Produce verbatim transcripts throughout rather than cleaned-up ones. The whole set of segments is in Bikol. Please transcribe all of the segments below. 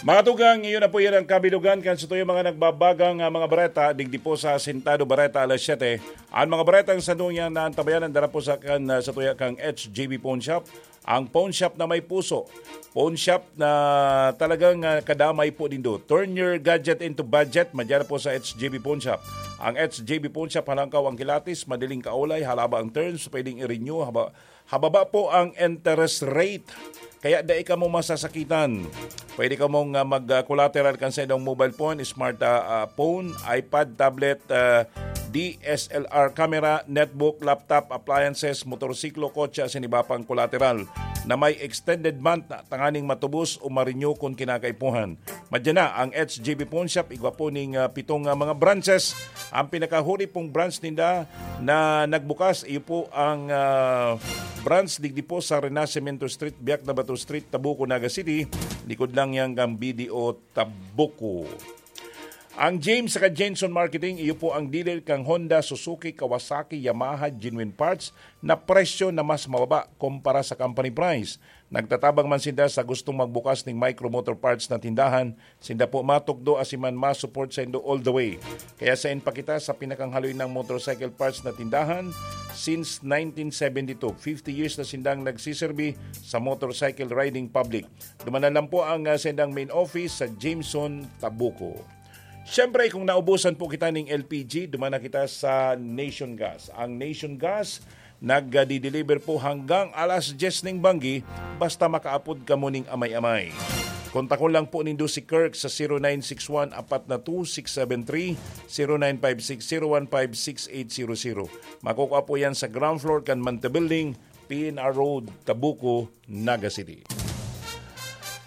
Mga tugang, iyon na po yan ang kabilugan kan sa tuyo mga nagbabagang, ah, mga bareta, digdi po sa Sintado Bareta alas siyete. Ang mga baretang sa dunyang naantabayanan dara po sa kan, ah, sa tuya kang H G B Pawn Shop. Ang pawn shop na may puso. Pawn shop na talagang, ah, kadamay po nindo. Turn your gadget into budget. Madyan po sa H G B Pawn Shop. Ang H G B Pawn Shop, halangkaw ang kilatis, madaling kaulay, halaba ang terms, pwedeng i-renew, haba, hababa po ang interest rate. Kaya dai kamo masasakitan. Pwede kamong, ah, mag, ah, collateral kan sa inyong mobile phone, smart, ah, ah, phone, iPad, tablet, ah, D S L R camera, netbook, laptop, appliances, motorsiklo, kotse, asin iba pang collateral na may extended month na tanganing matubos o ma-renew kun kinakaipuhan. Madyan na ang H G B Pawn Shop, igwa po ning, ah, pitong, ah, mga branches. Ang pinakahuri pong branch ninda na nagbukas, iyo po ang, ah, branch digdi po sa Renacimiento Street, Biak na Bato Street, Tabuco, Naga City. Likod lang yan kang B D O Tabuco. Ang James saka Jenson Marketing, iyo po ang dealer kang Honda, Suzuki, Kawasaki, Yamaha, genuine parts na presyo na mas mababa kumpara sa company price. Nagtatabang man sinda sa gustong magbukas ning micro motor parts na tindahan, sinda po matukdo asin man ma-support saindo all the way. Kaya sain pa kita sa pinakahaloy nang motorcycle parts na tindahan since nineteen seventy-two. Fifty years na sindang nagsiserbi sa motorcycle riding public. Duman na lang po ang, ah, sendang main office sa Jameson, Tabuco. Siyempre, kung naubusan po kita ning L P G, duman na kita sa Nation Gas. Ang Nation Gas, nagdi-deliver po hanggang alas diyes ning banggi, basta makaapod kamo ning amay-amay. Kontakon lang po nindo si Kirk sa zero nine six one apat na two six seven three, zero nine five six zero one five six eight zero zero. Makukuha po yan sa ground floor kan Manta Building, P N R Road, Tabuco, Naga City.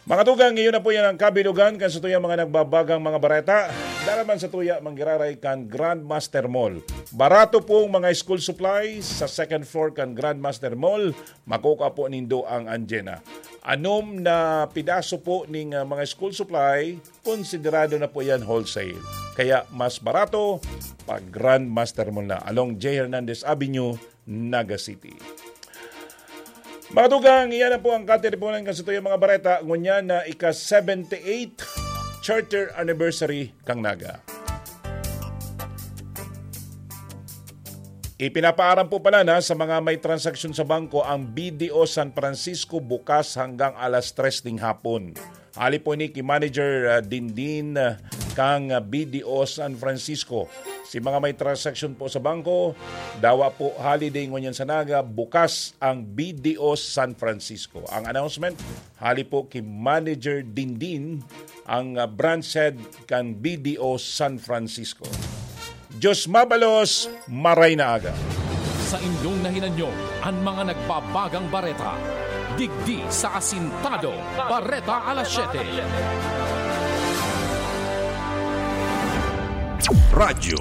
Mga tugang, iyon na po yan ang kabilugan kan sa tuya mga nagbabagang mga bareta. Dara man sa tuya manggiraray kan Grandmaster Mall. Barato pong mga school supplies sa second floor kan Grandmaster Mall. Makukuha po nindo ang Anjena. Anom na pidaso po ning, ah, mga school supply, konsiderado na po yan wholesale. Kaya mas barato pag Grandmaster Mall na. Along J Hernandez Avenue, Naga City. Mga tugang, iyan na po ang katiriponan kan sa tuyang mga bareta. Ngunyan na ika-seventy-eight charter anniversary kang Naga. Ipinapaaram po pala na sa mga may transaksyon sa bangko ang B D O San Francisco bukas hanggang alas tres ning hapon. Hali po ni ki Manager, ah, Dindin, ah, kang, ah, B D O San Francisco. Si mga may transaksyon po sa bangko, dawa po holiday ngunyan sa Naga, bukas ang B D O San Francisco. Ang announcement, hali po ki Manager Dindin, ang, ah, branch head kan B D O San Francisco. Diyos mabalos, maray na aga. Sa inyong nahinanyo, an mga nagbabagang bareta. Digdi sa Asintado, Bareta Alas Siyete. Radyo